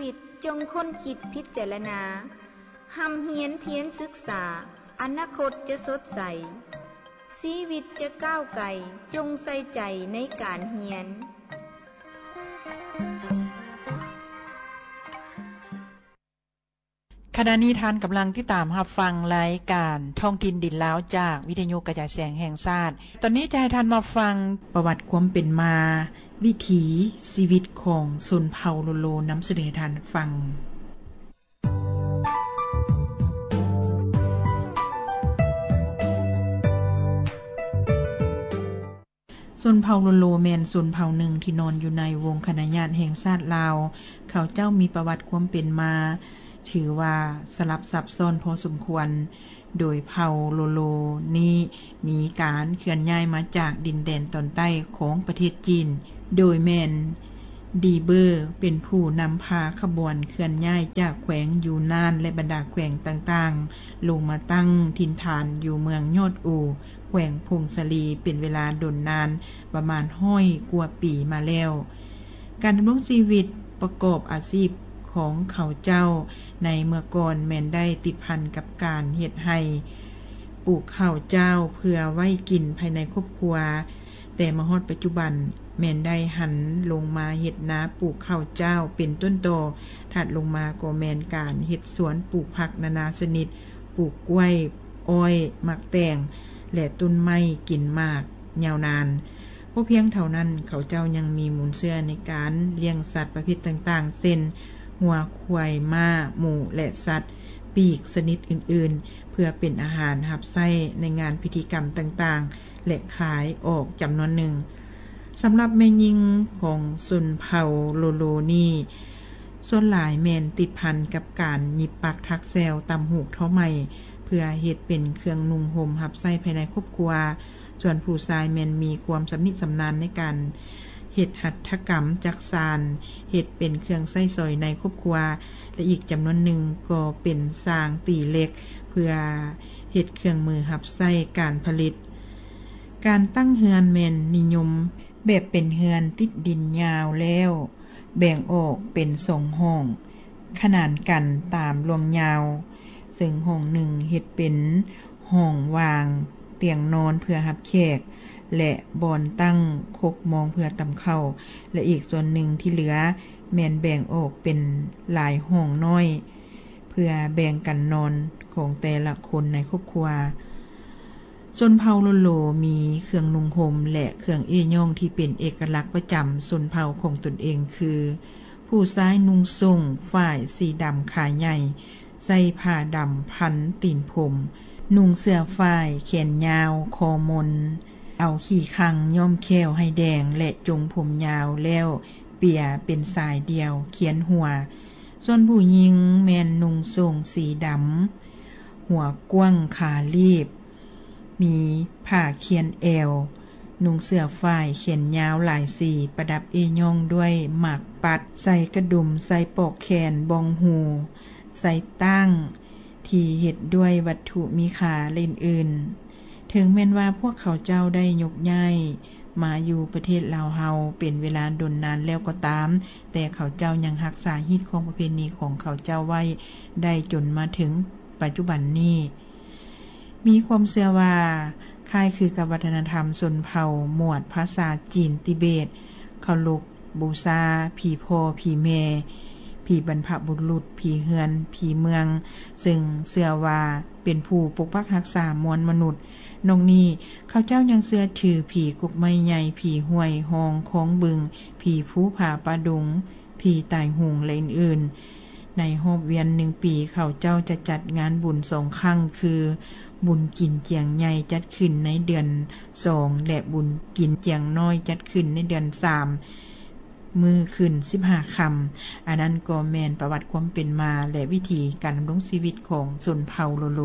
ວິດ ຈົ່ງຄົ້ນຄິດພິຈາລະນາ, ຮ່ຳຮຽນພຽນສຶກສາ, ອະນາຄົດຈະສົດໃສ, ຊີວິດຈະກ້າວໄກ, ຈົ່ງໃສ່ໃຈໃນການຮຽນ. ຂະນະນີ້ທ່ານກຳລັງຕິດຕາມຮັບຟັງລາຍການທ້ອງຖິ່ນດິນລາວ ຈາກວິທະຍຸກະຈາຍສຽງແຫ່ງຊາດ. ຕອນນີ້ຈະໃຫ້ທ່ານມາຟັງປະຫວັດຄວາມເປັນມາ, ວິຖີຊີວິດຂອງຊົນເຜົ່າໂລໂລ ນຳສະເໜີໃຫ້ທ່ານຟັງ. ຊົນເຜົ່າໂລໂລແມ່ນຊົນເຜົ່າໜຶ່ງທີ່ນອນຢູ່ໃນວົງຄະນະຍາດແຫ່ງຊາດລາວ. ເຂົາເຈົ້າມີປະຫວັດຄວາມເປັນມາ ຖືວ່າສະຫຼັບຊັບຊ້ອນພໍສົມຄວນ, ໂດຍເຜົ່າໂລໂລນີ້ມີການເຄື່ອນຍ້າຍມາຈາກດິນແດນຕອນໃຕ້ຂອງປະເທດຈີນ, ໂດຍແມ່ນດີເບີເປັນຜູ້ນຳພາຂະບວນເຄື່ອນຍ້າຍຈາກແຂວງຢູນານ ແລະ ບັນດາແຂວງຕ່າງໆ ລົງມາຕັ້ງຖິ່ນຖານຢູ່ເມືອງຍອດອູ ແຂວງຜົ້ງສາລີ ເປັນເວລາດົນນານປະມານຮ້ອຍກວ່າປີມາແລ້ວ. ການດຳລົງຊີວິດປະກອບອາຊີບຂອງເຂົາເຈົ້າໃນເມື່ອກ່ອນແມ່ນໄດ້ຕິດພັນກັບການເຮັດໄຮ່ປູກເຂົ້າຈ້າວເພື່ອໄວ້ກິນພາຍໃນຄອບຄົວ, ແຕ່ມາຮອດປັດຈຸບັນແມ່ນໄດ້ຫັນລົງມາເຮັດນາປູກເຂົ້າຈ້າວເປັນຕົ້ນຕໍ, ຖັດລົງມາກໍແມ່ນການເຮັດສວນປູກຜັກນານາຊະນິດ, ປູກກ້ວຍ, ອ້ອຍ, ໝາກແຕງ ແລະ ຕົ້ນໄມ້ກິນໝາກຍາວນານ. ບໍ່ພຽງເທົ່ານັ້ນ, ເຂົາເຈົ້າຍັງມີມູນເຊື້ອໃນການລ້ຽງສັດປະເພດຕ່າງໆ ເຊັ່ນ ງົວ, ຄວາຍ, ມ້າ, ໝູ ແລະ ສັດປີກຊະນິດອື່ນໆ ເພື່ອເປັນອາຫານຮັບໃຊ້ໃນງານພິທີກຳຕ່າງໆ ແລະ ຂາຍອອກຈຳນວນໜຶ່ງ. ສຳລັບແມ່ຍິງຂອງຊົນເຜົ່າໂລໂລນີ້ ສ່ວນຫຼາຍແມ່ນຕິດພັນກັບການຫຍິບປັກຖັກແຊວ, ຕ່ຳຫູກ, ທໍໄໝ ເພື່ອເຮັດເປັນເຄື່ອງນຸ່ງຫົ່ມຮັບໃຊ້ພາຍໃນຄອບຄົວ. ສ່ວນຜູ້ຊາຍແມ່ນມີຄວາມຊຳນິຊຳນານໃນການເຮັດຫັດຖະກຳຈັກສານ, ເຮັດເປັນເຄື່ອງໃຊ້ສອຍໃນຄອບຄົວ ແລະ ອີກຈຳນວນໜຶ່ງກໍເປັນຊ່າງຕີເຫຼັກ ເພື່ອເຮັດເຄື່ອງມືຮັບໃຊ້ການຜະລິດ. ການຕັ້ງເຮືອນແມ່ນນິຍົມແບບເປັນເຮືອນຕິດດິນຍາວແລ້ວ ແບ່ງອອກເປັນສອງຫ້ອງ ຂະໜານກັນຕາມລວງຍາວ, ເຊິ່ງຫ້ອງໜຶ່ງເຮັດເປັນຫ້ອງວາງຕຽງນອນເພື່ອຮັບແຂກ ແລະ ບ່ອນຕັ້ງຄົກມອງເພື່ອຕຳເຂົ້າ ແລະ ອີກສ່ວນໜຶ່ງທີ່ເຫຼືອແມ່ນແບ່ງອອກເປັນຫຼາຍຫ້ອງນ້ອຍ ເພື່ອແບ່ງກັນນອນຂອງແຕ່ລະຄົນໃນຄອບຄົວ. ຊົນເຜົ່າໂລໂລມີເຄື່ອງນຸ່ງຫົ່ມ ແລະ ເຄື່ອງເອ້ຍ້ອງທີ່ເປັນເອກະລັກປະຈຳຊົນເຜົ່າຂອງຕົນເອງ ຄື ຜູ້ຊາຍນຸ່ງໂສ້ງຝ້າຍສີດຳຂາໃຫຍ່, ໃສ່ຜ້າດຳພັນຕີນພົມ, ນຸ່ງເສື້ອຝ້າຍແຂນຍາວຄໍມົນ, ເອົາຂີ້ຂັງຍ້ອມແຂ້ວໃຫ້ແດງ ແລະ ຈົງຜົມຍາວແລ້ວເປ່ຍເປັນສາຍດຽວຄຽນຫົວ. ສ່ວນຜູ້ຍິງແມ່ນນຸ່ງໂສ້ງສີດຳ, ຫົວກວ້າງຂາລີບ, ມີຜ້າຄຽນແອວ, ນຸ່ງເສື້ອຝ້າຍແຂນຍາວຫຼາຍສີ, ປະດັບເອ້ຍ້ອງດ້ວຍໝາກປັດ, ໃສ່ກະດຸມ, ໃສ່ປອກແຂນ, ບ່ອງຫູ, ໃສ່ຕ່າງທີ່ເຮັດດ້ວຍວັດຖຸມີຄ່າ ແລະ ອື່ນໆ. ເຖິງແມ່ນວ່າພວກເຂົາເຈົ້າໄດ້ຍົກຍ້າຍມາຢູ່ປະເທດລາວເຮົາເປັນເວລາດົນນານແລ້ວກໍຕາມ, ແຕ່ເຂົາເຈົ້າຍັງຮັກສາຮີດຄອງປະເພນີຂອງເຂົາເຈົ້າໄວ້ໄດ້ຈົນມາເຖິງປັດຈຸບັນນີ້. ມີຄວາມເຊື່ອວ່າຄ້າຍຄືກັບວັດທະນະທຳຊົນເຜົ່າມວດພາສາຈີນຕິເບດ, ເຄົາລົບບູຊາຜີພໍ່ຜີແມ່, ຜີບັນພະບຸລຸດ, ຜີເຮືອນ, ຜີເມືອງ, ເຊິ່ງເຊື່ອວ່າເປັນຜູ້ປົກປັກຮັກສາມວນມະນຸດ. ນອກນີ້, ເຂົາເຈົ້າຍັງເຊື່ອຖືຜີກົກໄມ້ໃຫຍ່, ຜີຫ້ວຍຮ່ອງຄອງບຶງ, ຜີພູຜາປ່າດົງ, ຜີຕາຍໂຫງ ແລະ ອື່ນໆ. ໃນຮອບວຽນໜຶ່ງປີ, ເຂົາເຈົ້າຈະຈັດງານບຸນສອງຄັ້ງ ຄື ບຸນກິນຈຽງໃຫຍ່ ຈັດຂຶ້ນໃນເດືອນສອງ ແລະ ບຸນກິນຈຽງນ້ອຍ ຈັດຂຶ້ນໃນເດືອນສາມ ມື້ຂຶ້ນສິບຫ້າຄ່ຳ. ອັນນັ້ນກໍແມ່ນປະຫວັດຄວາມເປັນມາ ແລະ ວິຖີການດຳລົງຊີວິດຂອງຊົນເຜົ່າໂລໂລ.